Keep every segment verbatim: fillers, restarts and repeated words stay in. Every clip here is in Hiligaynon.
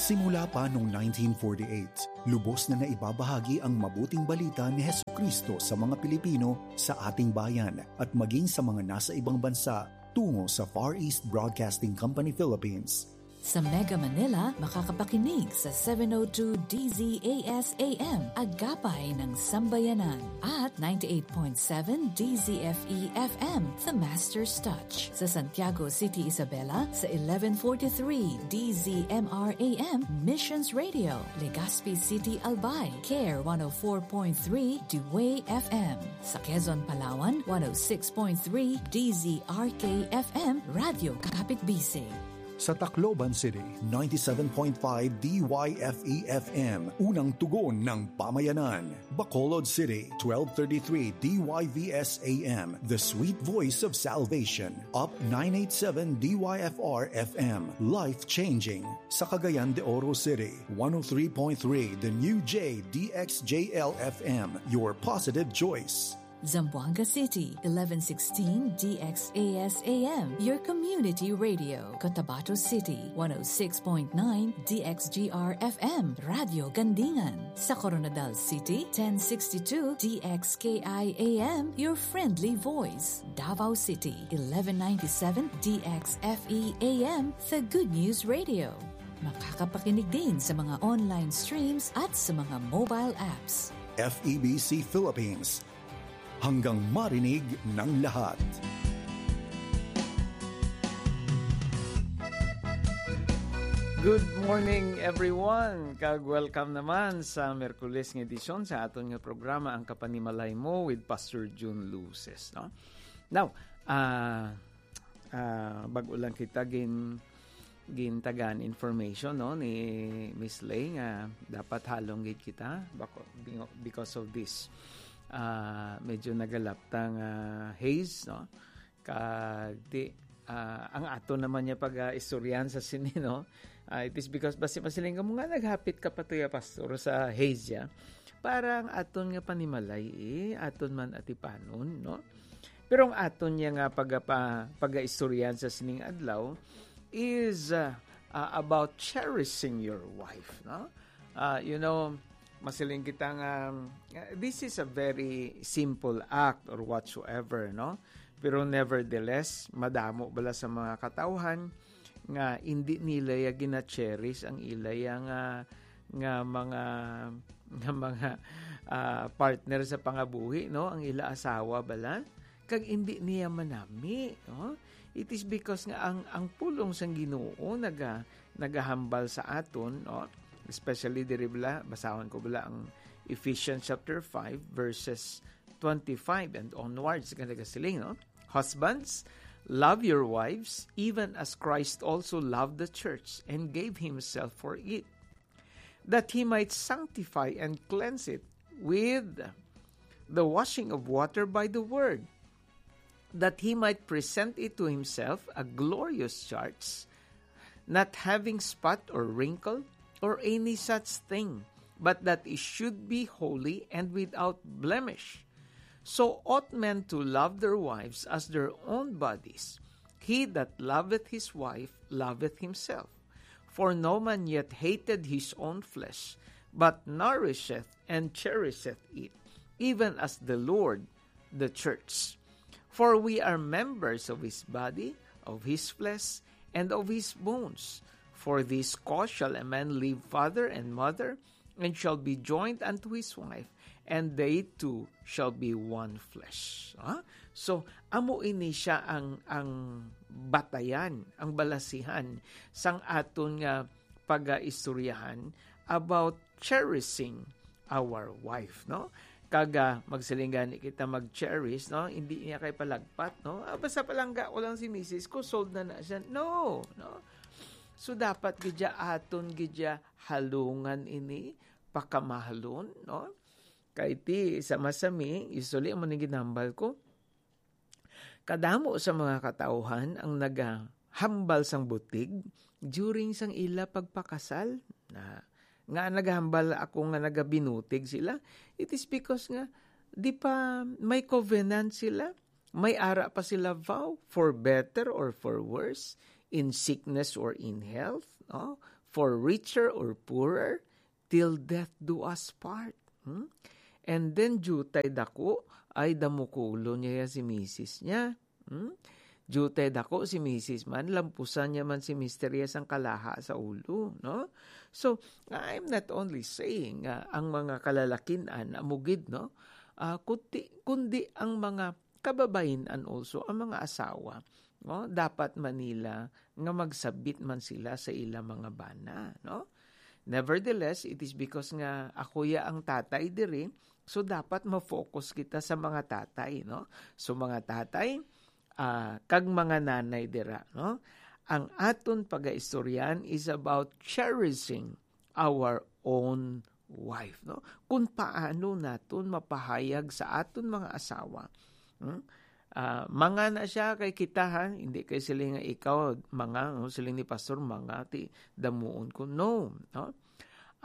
Simula pa noong nineteen forty-eight, lubos na naibabahagi ang mabuting balita ni Jesucristo sa mga Pilipino sa ating bayan at maging sa mga nasa ibang bansa tungo sa Far East Broadcasting Company Philippines. Sa Mega Manila, makakapakinig sa seven oh two D Z A S A M, Agapay ng Sambayanan, at ninety-eight point seven D Z F E F M, The Master's Touch. Sa Santiago City, Isabela, sa eleven forty-three D Z M R A M, Missions Radio. Legazpi City, Albay, Care one oh four point three, Dway F M. Sa Quezon, Palawan, one oh six point three D Z R K F M, Radyo Kapit Bisig. Sa Tacloban City, ninety-seven point five D Y F E F M, unang tugon ng pamayanan. Bacolod City, twelve thirty-three D Y V S A M, the sweet voice of salvation. Up nine eighty-seven D Y F R F M, life-changing. Sa Cagayan de Oro City, one oh three point three the new J D X J L F M, your positive choice. Zamboanga City, eleven sixteen D X A S A M, your community radio. Cotabato City, one oh six point nine D X G R F M, Radyo Gandingan. Sa Koronadal City, ten sixty-two D X K I A M, your friendly voice. Davao City, eleven ninety-seven D X F E A M, the good news radio. Makakapakinig din sa mga online streams at sa mga mobile apps. F E B C Philippines, hanggang marinig ng lahat. Good morning, everyone, kag welcome naman sa Merkules nga edisyon sa aton nga programa, Ang Kapanimalay Mo with Pastor Jun Luces, no? Now, ah, ah, bag-o lang kita gin-, gintagaan information, no, ni Miss Lay nga dapat halong gid kita bako-, bingo-, because of this, ah, medyo nagalaptang, ah, haze, no? Kag di, ah, ang aton naman niya pag-, ah, istoryahan sa sini, no? Ah, it is because basi masiling ka mo nga naghapit ka pa to ya, Pastor, sa haze ya. Para ang aton nga panimalay, eh, aton man atipanon, no? Pero ang aton niya nga pagapa-, pagaistoryahan sa sining adlaw is, uh, uh, about cherishing your wife, no? Uh, you know, masiling kita nga, uh, this is a very simple act or whatsoever, no? Pero nevertheless, madamo bala sa mga katawhan nga hindi nila ya gina-cherish ang ila ya nga, nga mga, nga mga, ah, partner sa pangabuhi, no? Ang ila asawa bala, kag hindi niya manami, no? It is because nga ang, ang pulong sang Ginoo naga-, nagahambal sa aton, no? Especially diri bala, basahon ko bala ang Ephesians chapter five, verses twenty-five and onwards, nga nagasiling, no? "Husbands, love your wives, even as Christ also loved the church and gave himself for it, that he might sanctify and cleanse it with the washing of water by the word, that he might present it to himself a glorious church, not having spot or wrinkle or any such thing, but that it should be holy and without blemish. So ought men to love their wives as their own bodies. He that loveth his wife loveth himself. For no man yet hated his own flesh, but nourisheth and cherisheth it, even as the Lord the church. For we are members of his body, of his flesh, and of his bones. For this cause shall a man leave father and mother, and shall be joined unto his wife, and they two shall be one flesh." Ha? So, amo ini siya ang, ang batayan, ang balasihan sang aton nga pagaistoryahan about cherishing our wife, no? Kag, ah, magsiling gani kita mag-cherish, no? Hindi niya kay palagpat, no? "Ah, basta palangga ko lang si misis ko, sold na na siya." No, no? So, dapat gid siya aton gid siya halungan ini, pakamahalon, no? Kay ti, sa masami, usually, amo ni ginambal ko, kadamo sa mga katawhan ang nagahambal sang butig during sang ila pagpakasal. Na, nga nagahambal ako nga nagabinutig sila, it is because nga di pa may covenant sila, may ara pa sila vow, for better or for worse, in sickness or in health, no? for richer or poorer, till death do us part. Hmm? And then, diutay dako, ay damukulo niya si misis niya. Hmm? Diutay dako si misis man, lampusan niya man si mister iya sang kalaha sa ulo, no? So, I'm not only saying nga ang mga kalalakin-an amo gid, no? Ah, kundi, kundi ang mga kababayin-an also, ang mga asawa, no? Dapat man nila nga magsabit man sila sa ila mga bana, no? Nevertheless, it is because nga ako ya ang tatay diri, so dapat ma-focus kita sa mga tatay, no? So, mga tatay, ah, kag mga nanay dira, no? Ang aton pagaistoryahan is about cherishing our own wife, no? Kung paano naton mapahayag sa aton mga asawa, hmm? Ah, manga na siya kay kita, ha, hindi kay siling nga ikaw, manga, no? Siling ni Pastor, manga, ti damuon ko. No, no?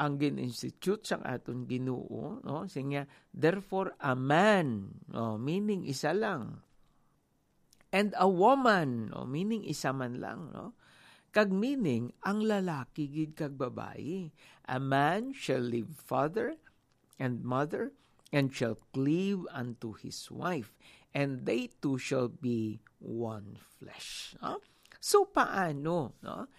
Ang gin-institute sang aton Ginoo, no? Siya nga, "Therefore, a man," no? Meaning, isa lang. "And a woman," no? Meaning, isa man lang, no? Kag meaning, ang lalaki gid kag babayi. "A man shall leave father and mother, and shall cleave unto his wife, and they two shall be one flesh." No? So, paano, no?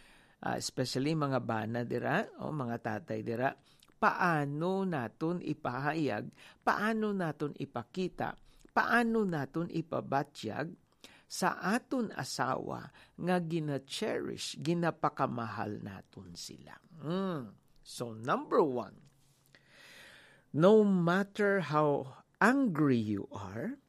Ah, especially mga bana dira, o mga tatay dira, paano naton ipahayag, paano naton ipakita, paano naton ipabatyag sa aton asawa nga gina-cherish, ginapakamahal naton sila? Mm. So, number one, no matter how angry you are,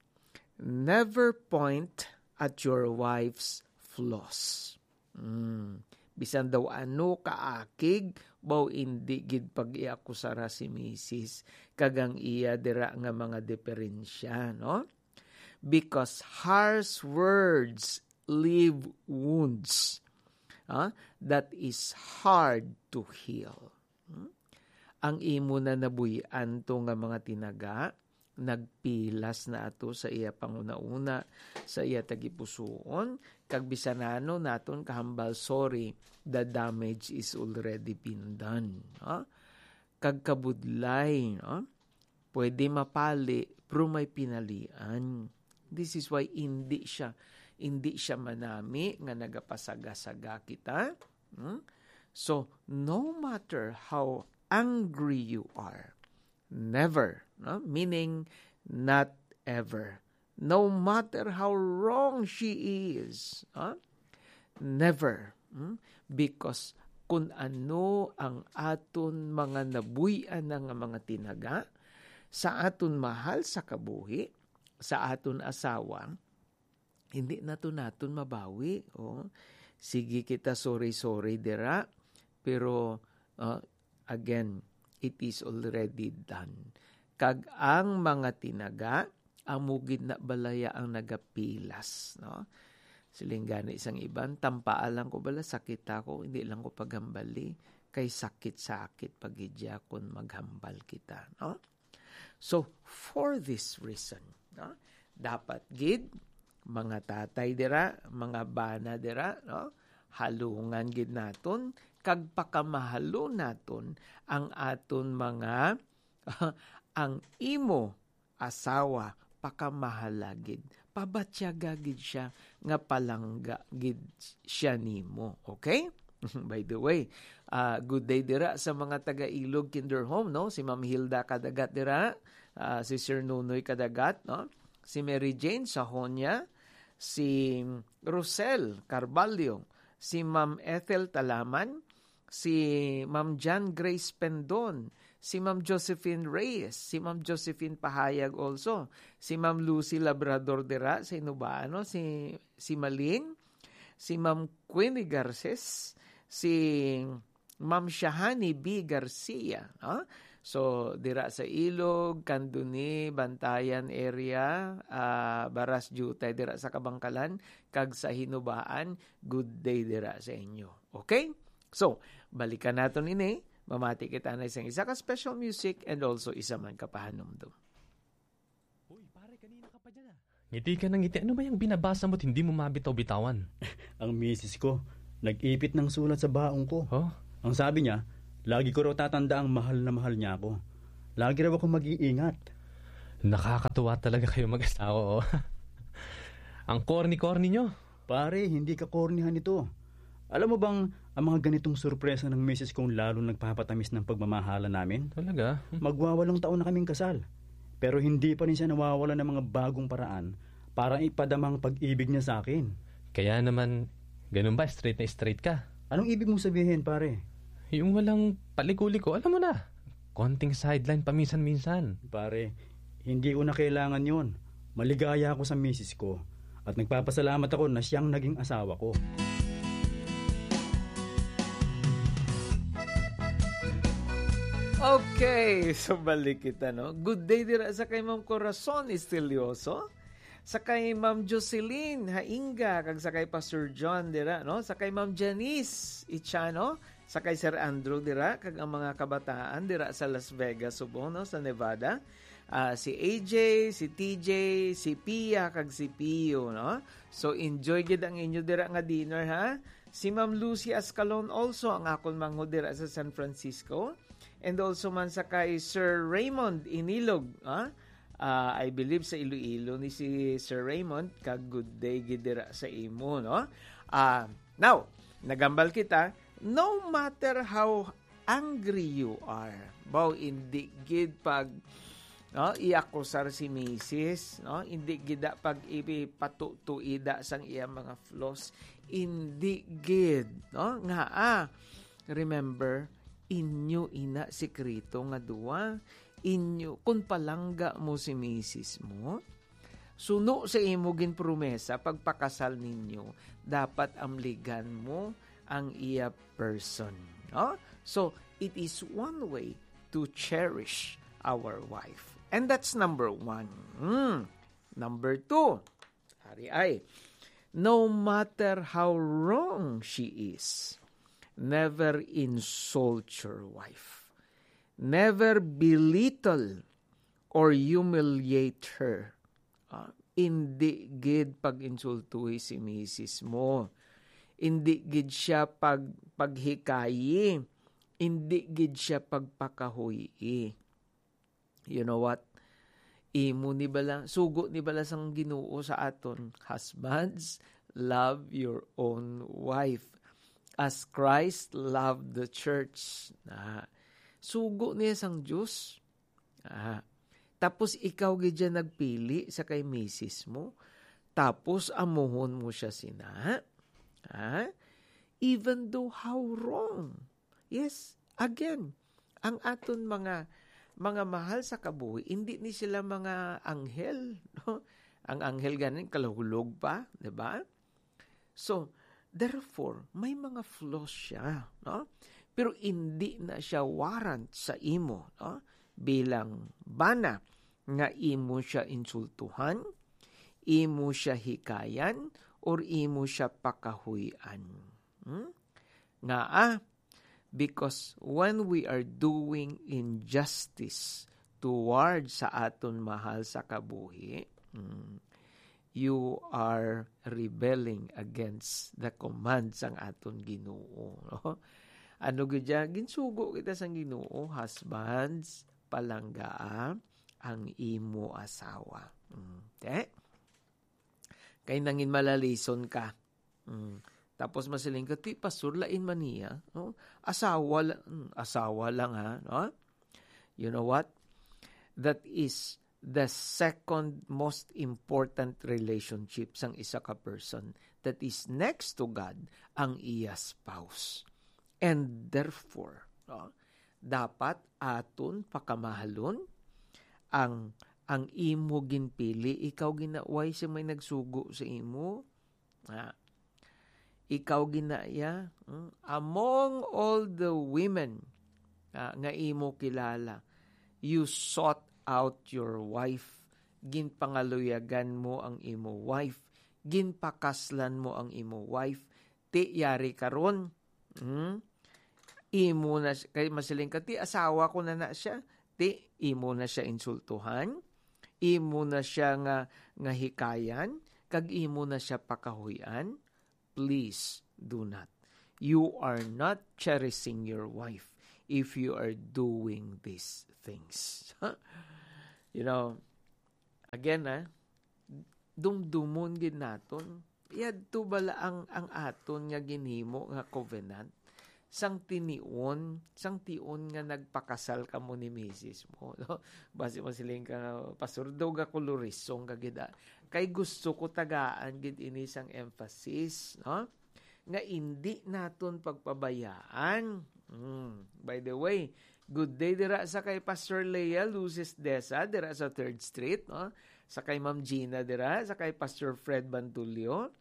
never point at your wife's flaws. Mm. Bisan daw ano kaakig, baw indi gid pag-iakusara si misis kag ang iya dira nga mga diferensya, no? Because harsh words leave wounds, ah, that is hard to heal. Hmm? Ang imo na nabuy-an to nga mga tinaga, nagpilas na ato sa iya panghunahuna, sa iya tagipusoon, kag bisan ano naton kahambal, sorry, the damage is already been done. Ha? Kag kabudlay, no? Pwede mapali, pero may pinalian. This is why hindi siya, hindi siya manami nga nagapasaga-saga kita. Hmm? So, no matter how angry you are, never, no? Meaning, not ever. No matter how wrong she is, ha? Never. Hmm? Because kung ano ang aton mga nabuy-an na nga mga tinaga sa aton mahal sa kabuhi, sa aton asawa, hindi na to naton mabawi. Oh. Sige kita sorry-sorry dira, pero, uh, again, it is already done. Kag ang mga tinaga, amo gid na balaya ang nagapilas, no? Siling gani sang iban, "Tampaa lang ko bala, sakit ako, hindi lang ko paghambali, kay sakit-sakit pa gid ya kon maghambal kita," no? So, for this reason, no, dapat gid, mga tatay dira, mga bana dira, no, halungan gid naton kag pakamahalon naton ang aton mga, ang imo asawa, pakamahala gid, pabatyaga gid siya nga palangga gid siya nimo. Okay? By the way, ah, good day dira sa mga taga Ilog Kinder Home, no? Si Ma'am Hilda Kadagat dira, ah, si Sir Nunoy Kadagat, no? Si Mary Jane Sahonia, si Rosel Carbalho, si Ma'am Ethel Talaman, si Ma'am Jan Grace Pendon, si Ma'am Josephine Reyes, si Ma'am Josephine Pahayag also, si Ma'am Lucy Labrador dira sa Inubano, si, si Maling, si Ma'am Queenie Garces, si Ma'am Shahani B Garcia, no? So, dira sa Ilog, Candoni, Bantayan area, ah, Baras Jutay, dira sa Kabangkalan, kag sa Hinubaan, good day dira sa inyo. Okay? So, balikan naton ini. Mamati kita na isang isa ka special music and also isa man ka pahanumdom. Hoy, pare, kanina ka pa dyan, ah. Ngiti ka ng ngiti. Ano ba yung binabasa mo't hindi mo mabitaw-bitawan? Ang misis ko, nag-ipit ng sulat sa baong ko. Oh? Ang sabi niya, lagi ko raw tatanda ang mahal na mahal niya ako. Lagi raw ako mag-iingat. Nakakatuwa talaga kayo mag-asawa, oh. Ang corny-corny nyo. Pare, hindi ka cornyhan ito. Alam mo bang ang mga ganitong sorpresa ng misis kong lalo nagpapatamis ng pagmamahalan namin? Talaga? Magwawalong taon na kaming kasal. Pero hindi pa rin siya nawawala ng mga bagong paraan para ipadama ang pag-ibig niya sa akin. Kaya naman, ganun ba? Straight na straight ka? Anong ibig mong sabihin, pare? Yung walang paliko-liko, alam mo na. Konting sideline paminsan-minsan. Pare, hindi ko na kailangan yon. Maligaya ako sa misis ko. At nagpapasalamat ako na siyang naging asawa ko. Okay, so balik kita, no? Good day dira sa kay Ma'am Corazon Estilioso, sa kay Ma'am Jocelyn Hainga, kag sa kay Pastor John dira, no? Sa kay Ma'am Janice Ichano, sa kay Sir Andrew dira, kag ang mga kabataan dira sa Las Vegas subong, no, sa Nevada. Ah, si A J, si T J, si Pia, kag si Pio, no? So, enjoy gid ang inyo dira nga dinner, ha? Si Ma'am Lucy Ascalon also ang akon manghod dira sa San Francisco. And also man sa kay Sir Raymond Inilog, ha? Ah, I believe sa Iloilo ni si Sir Raymond, kag good day gid dira sa imo, no? Ah, now, nagambal kita, no matter how angry you are, baw, hindi gid pag, no, iakusar si misis, no? Hindi gid da pag ipatutuida sang iya mga flaws. Hindi gid, no? Nga, ah, remember, inyo ina sikreto nga duwa. Inyo, kung palangga mo si misis mo, suno sa imo ginpromesa, pagpakasal ninyo, dapat amligan mo ang iya person. No? So, it is one way to cherish our wife. And that's number one. Hmm. Number two, hari ay, no matter how wrong she is, never insult your wife. Never belittle or humiliate her. Ah, indi gid pag-insultuhi si misis mo. Indi gid siya pag-, paghikayi. Indi gid siya pagpakahuy-i. You know what? Imo ni bala, sugo ni bala sang Ginoo sa aton, "Husbands, love your own wife as Christ loved the church." Na, sugo niya sang Dios. Ah. Tapos ikaw gid siya nagpili sa kay misis mo. Tapos amuhon mo siya sina. Ha? Even though how wrong. Yes, again, ang aton mga, mga mahal sa kabuhi, hindi ni sila mga anghel, no? Ang anghel ganin kalahulog pa, di ba? So, therefore, may mga flaws siya, no? Pero hindi na siya warrant sa imo, no? Bilang bana nga imo siya insultuhan, imo siya hikayan, or imo siya pakahuy-an. Hmm? Nga, ah, because when we are doing injustice toward sa aton mahal sa kabuhi, mm, you are rebelling against the command sang aton Ginoo, no? Ano gid ya? Ginsugo kita sang Ginoo, "Husbands, palanggaa ang imo asawa." Mm, te? Kay nangin malalison ka. Mm. Tapos masiling ka, "Ti, pastor, lain man niya, no? Asawa la-, mm, asawa lang, ha, no?" You know what? That is the second most important relationship sang isa ka person. That is next to God, ang iya spouse. And therefore, no, dapat aton pakamahalon ang, ang imo ginpili. Ikaw gina-, why siya may nagsugo sa imo? Ah, ikaw gina iya, hmm? Among all the women, ah, nga imo kilala, you sought out your wife. Ginpangaluyagan mo ang imo wife. Ginpakaslan mo ang imo wife. Ti yari karon, hmm? Imo na si-, kay masiling ka, "Ti, asawa ko na na siya." Ti, imo na siya insultuhan, imo na siya nga, nga hikayan, kag imo na siya pakahuy-an. Please do not. you are not cherishing your wife if you are doing these things. You know, again, ah, dumdumon gid naton, yadto bala ang, ang aton nga ginhimo nga covenant sang tinion, sang tion nga nagpakasal kamo ni misis mo, no? Basi masiling ka, "Pastor, daw gakulorisong ka gid, ah." Kay gusto ko tagaan gid ini sang emphasis, no? Nga indi naton pagpabayaan. Mm. By the way, good day dira sa kay Pastor Lea Luces Desa, dira sa Third Street, no? Sa kay Ma'am Gina dira, sa kay Pastor Fred Bantulio,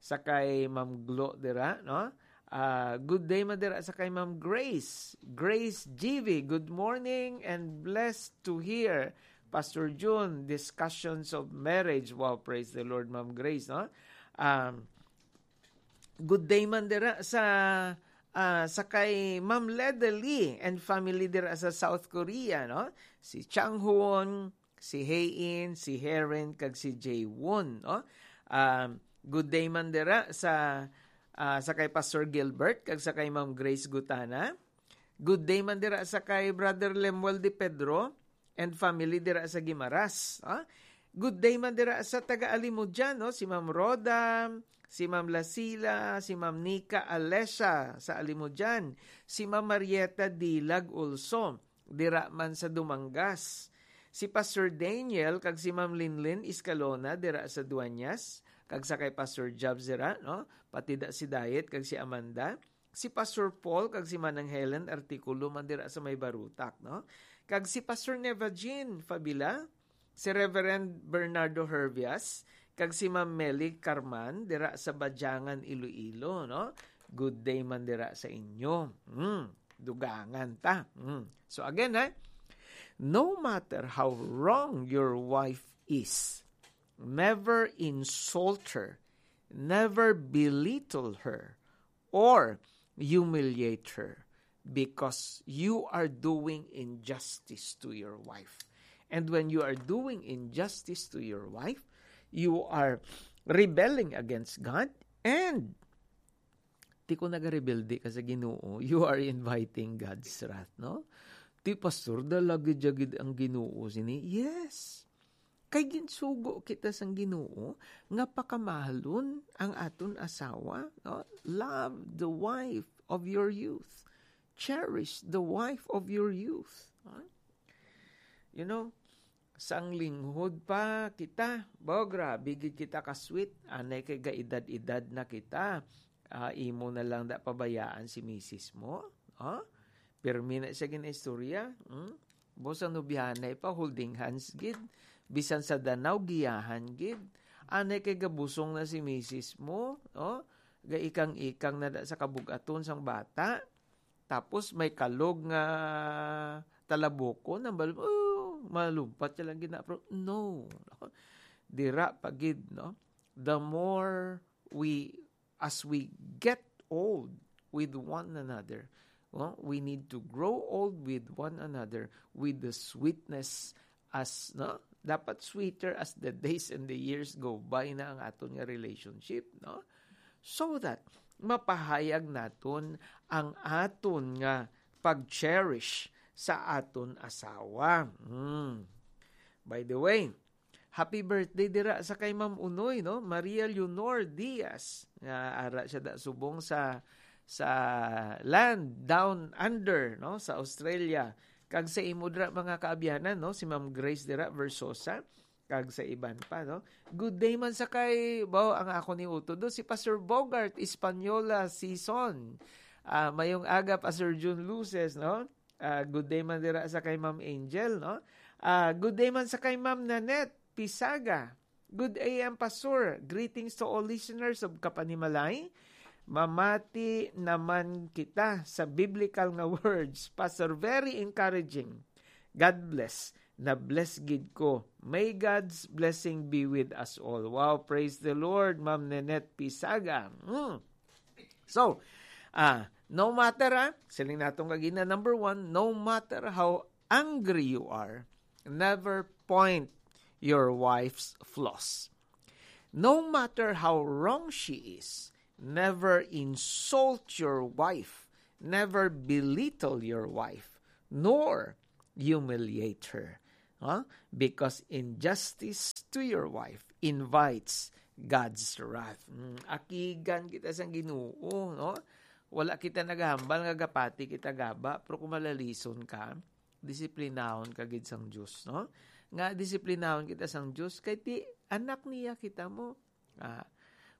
sa kay Ma'am Glo dira, no? Ah, good day man dira sa kay Ma'am Grace. Grace G V, good morning and blessed to hear Pastor June, discussions of marriage. Wow, praise the Lord, Ma'am Grace, no? Um, good day man dira sa, ah, sa kay Ma'am Leda Lee and family dira sa South Korea, no? Si Chang Huon, si Hayin, si Heron, kag si Jay Won, no? Um, good day man dira sa, ah, sa kay Pastor Gilbert kag sa kay Ma'am Grace Gutana. Good day man dira sa kay Brother Lemuel de Pedro and family dira sa Guimaras, ha? Good day man dira sa taga Alimodian, no? Si Ma'am Rhoda, si Ma'am Lasila, si Ma'am Nika Alesha sa Alimodian, si Ma'am Marieta Dilag also, dira man sa Dumangas. Si Pastor Daniel kag si Ma'am Linlin Escalona dira sa Dueñas, kag sa kay Pastor Jobs dira, no? Pati da si Diet kag si Amanda. Si Pastor Paul kag si Manang Helen Artikulo man dira sa may Barutak, no? Kag si Pastor Neva Jean Fabila, si Reverend Bernardo Hervias, kag si Ma'am Meli Carman dira sa Badyangan, Iloilo, no? Good day man dira sa inyo. Mm, dugangan ta. Mm. So again, eh, no matter how wrong your wife is, never insult her, never belittle her, or humiliate her, because you are doing injustice to your wife. And when you are doing injustice to your wife, you are rebelling against God, and ti ko nagarebelde ka sa Ginoo, you are inviting God's wrath, no? Ti, "Pastor, dalagid-yagid ang Ginoo sini." Yes. Kay ginsugo kita sang Ginoo nga pakamahalon ang aton asawa, no? Love the wife of your youth. Cherish the wife of your youth. Ha? You know, sang linghod pa kita, ba, grabe gid kita ka-sweet. Anay kay gaedad-edad na kita. Ah, imo na lang da pabayaan si misis mo. Ha? Pirmi na siya ginaistorya. Hmm? Bo, sa nobyahanay pa, holding hands gid. Bisan sa danaw, giyahan gid. Anay kay gabusong na si misis mo, no? Gaikang-ikang na da sa kabug-aton sang bata. Tapos may kalog nga talabukon, ang bal-, oh, malumpat siya lang gina-, pero no. Dira pa gid, no? The more we, as we get old with one another, no? We need to grow old with one another with the sweetness as, no? Dapat sweeter as the days and the years go by na ang aton nga relationship, no? So that mapahayag naton ang aton nga pag-cherish sa aton asawa. Hmm. By the way, happy birthday dira sa kay Ma'am Unoy, no? Maria Leonor Diaz. Nga ara siya da subong sa, sa land down under, no? Sa Australia. Kag sa imo dira, mga kaabyanan, no? Si Ma'am Grace dira Versosa. Kag sa iban pa, no? Good day man sa kay, baw, ang ako ni utod, no? Si Pastor Bogart Española Season. Ah, mayong aga, Pastor June Luces, no? Ah, good day man dira sa kay Ma'am Angel, no? Ah, good day man sa kay Ma'am Nanette Pisaga. Good A M, Pastor. Greetings to all listeners of Kapanimalay. Mamati naman kita sa biblical nga words, Pastor. Very encouraging. God bless. Na-bless gid ko. May God's blessing be with us all. Wow, praise the Lord, Ma'am Nanette Pisaga. Hmm. So, ah, no matter, ah, siling naton kagina, number one, no matter how angry you are, never point your wife's flaws. No matter how wrong she is, Never insult your wife, never belittle your wife, nor humiliate her. Huh? Because injustice to your wife invites God's wrath. Mm, akigan kita sang Ginoo, no? Wala kita nagahambal nga gapati kita gaba, pero kung malalison ka, disiplinahon ka gid sang Dios, no? Nga disiplinahon kita sang Dios, kay ti anak niya kita mo. Ah,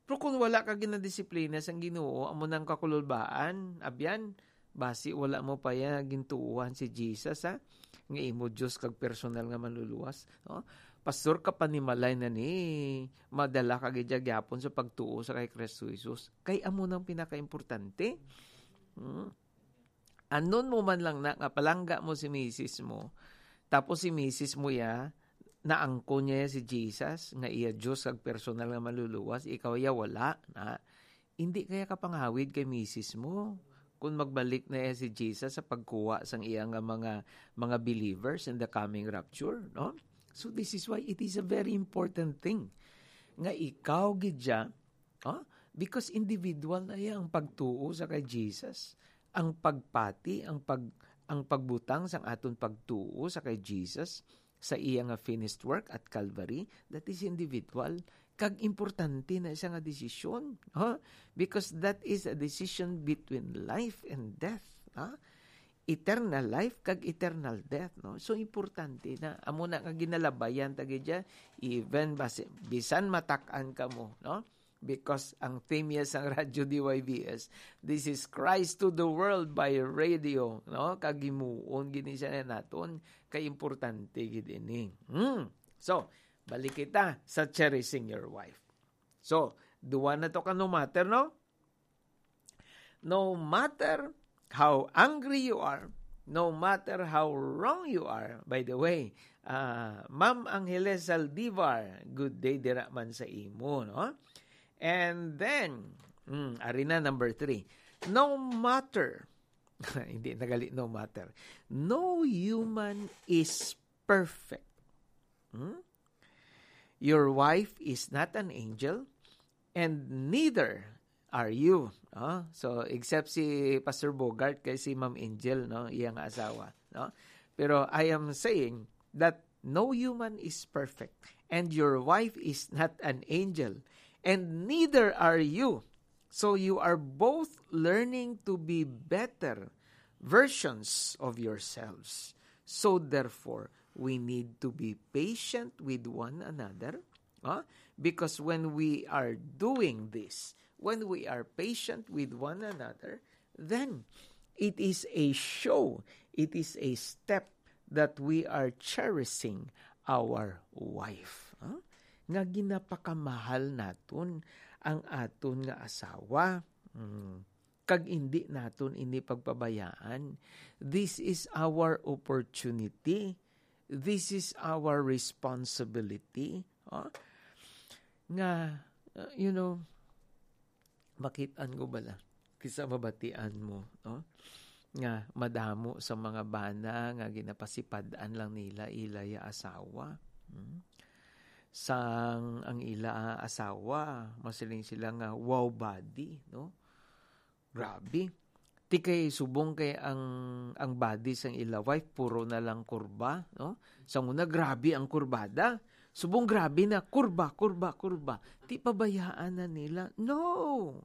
pero kung wala ka ginadisiplina sang Ginoo, amo nang kakululbaan, abyan, basi wala mo pa ya gintuohan si Jesus, ha? Nga imo Dios kag personal nga manluluwas, no? Pastor, kapanimalay na ni, madala ka gid gyapon sa pagtuo sa kay Kristo Jesus. Kay amo nang pinakaimportante. Hmm. Anon mo man lang na nga palangga mo si misis mo, tapos si misis mo ya, naangkon niya si Jesus, nga iya Dios kag personal nga manluluwas, ikaw ya wala, na, hindi kaya ka pangawid kay misis mo kung magbalik na iya si Jesus sa pagkuha sang iya nga mga, mga believers in the coming rapture, no? So this is why it is a very important thing nga ikaw gid siya, ah, because individual na iya ang pagtuo sa kay Jesus, ang pagpati, ang pag-, ang pagbutang sang aton pagtuo sa kay Jesus, sa iya nga finished work at Calvary, that is individual. Kag importante na siya nga desisyon, ha? Because that is a decision between life and death, ha? Eternal life kag eternal death, no? So, importante na. Amo na nga ginalabayan ta gid siya, even basi-, bisan matak-an ka mo, no? Because ang theme niya sang Radyo D Y V S, "This is Christ to the World" by radio, no? Kag himuon gid ni siya naton, kay importante gid ini. Hmm. So, balik kita sa cherishing your wife. So, duwa na to ka no matter, no? No matter how angry you are, no matter how wrong you are, by the way, ah, Ma'am Angeles Saldivar, good day dira man sa imo, no? And then, mm, ari na number three. No matter, hindi na gali, no matter. No human is perfect. Hmm? Your wife is not an angel, and neither are you. No? So, except si Pastor Bogart kay si Ma'am Angel, no, iya nga asawa, no? Pero I am saying that no human is perfect, and your wife is not an angel, and neither are you. So you are both learning to be better versions of yourselves. So therefore, we need to be patient with one another, ah, because when we are doing this, when we are patient with one another, then it is a show, it is a step that we are cherishing our wife, ah, nga ginapakamahal naton ang aton nga asawa. Mm. Kag indi naton ini pagpabayaan. This is our opportunity. This is our responsibility. Ah, nga, uh, you know, makit-an ko bala, kisa mabatian mo, no? Nga madamo sa mga bana nga ginapasipad-an lang nila ila ya asawa. Hmm? Sang ang ila asawa, masiling sila nga, "Wow body," no? Grabe. Ti kay subong kay ang, ang body sang ila wife puro na lang kurba, no? Sang una, grabe ang kurbada. Subong grabe na, kurba, kurba, kurba. Ti pabayaan na nila. No!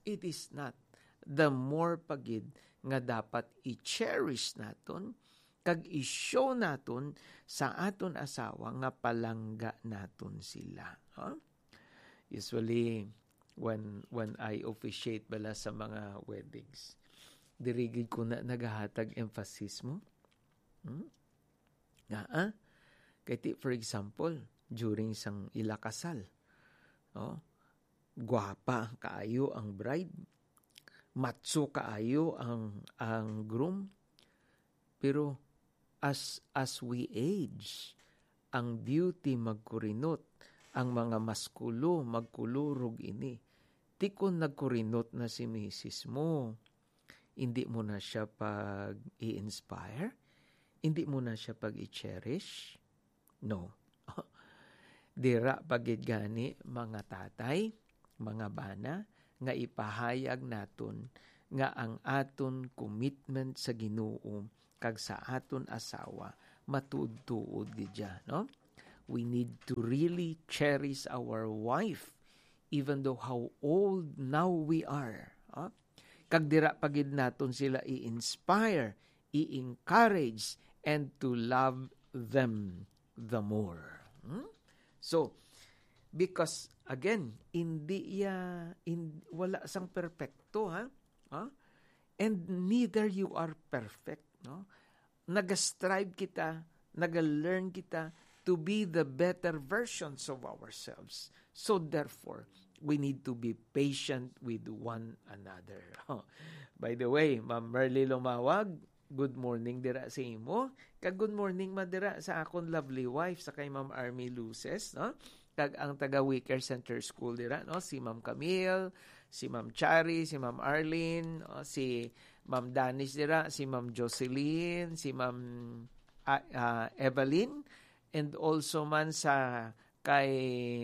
It is not. The more pa gid nga dapat i-cherish naton, kag i-show naton sa aton asawa nga palangga naton sila. Ha? Usually, when, when I officiate bala sa mga weddings, diri gid ko na nagahatag emphasis mo. Hmm? Nga, ah? Kay ti, for example, during sang ila kasal, oh, gwapa kaayo ang bride, matso kaayo ang, ang groom, pero as, as we age, ang beauty magkurinot, ang mga maskulo magkulurog ini. Ti kon nagkurinot na si misis mo, hindi mo na siya pag-i-inspire? Hindi mo na siya pag-i-cherish? No. Dira pa gid gani, mga tatay, mga bana, nga ipahayag naton nga ang aton commitment sa Ginoo kag sa aton asawa matuod-tuod gid siya, no? We need to really cherish our wife even though how old now we are. Ha? Kag dira pa gid naton sila i-inspire, i-encourage, and to love them the more. Hmm? So, because again, hindi ya, in, wala sang perpekto, ha? Ha? And neither you are perfect, no? Nag-strive kita, nag-learn kita to be the better versions of ourselves. So therefore, we need to be patient with one another. By the way, Ma'am Merly Lumawag, good morning dira sa imo. Kag good morning man dira sa akon lovely wife, sa kay Ma'am Army Luces, no? Kag ang taga Wicker Center School dira, no? Si Ma'am Camille, si Ma'am Chari, si Ma'am Arlene, no? Si Ma'am Danis dira, si Ma'am Jocelyn, si Ma'am, ah, ah, Evelyn, and also man sa kay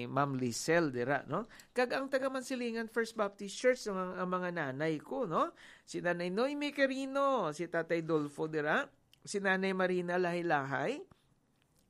Ma'am Lisel dira, no? Kag ang taga Mansilingan First Baptist Church, ang, ang mga nanay ko, no? Si Nanay Noemi Quirino, si Tatay Dolfo dira, si Nanay Marina Lahay-Lahay,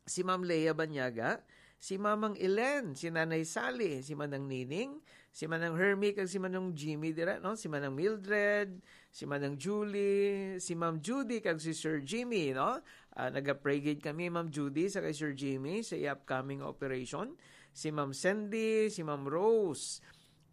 si Ma'am Lea Banyaga, si Mamang Elen, si Nanay Sally, si Manang Nining, si Manang Hermie, kag si Manang Jimmy dira, no? Si Manang Mildred, si Manang Julie, si Ma'am Judy, kag si Sir Jimmy, no? Ah, naga-pray gid kami, Ma'am Judy, sa kay Sir Jimmy, sa iya upcoming operation. Si Ma'am Sandy, si Ma'am Rose,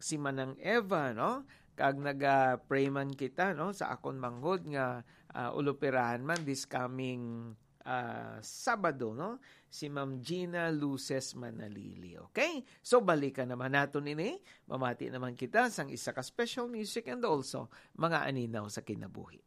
si Manang Eva, no? Kag naga-pray man kita, no? Sa akon manghod nga, ah, ulupirahan man this coming, ah, Sabado, no? Si Ma'am Gina Luces Manalili, okay? So, balikan naman naton ini. Mamati naman kita sang isa ka special music and also mga aninaw sa kinabuhi.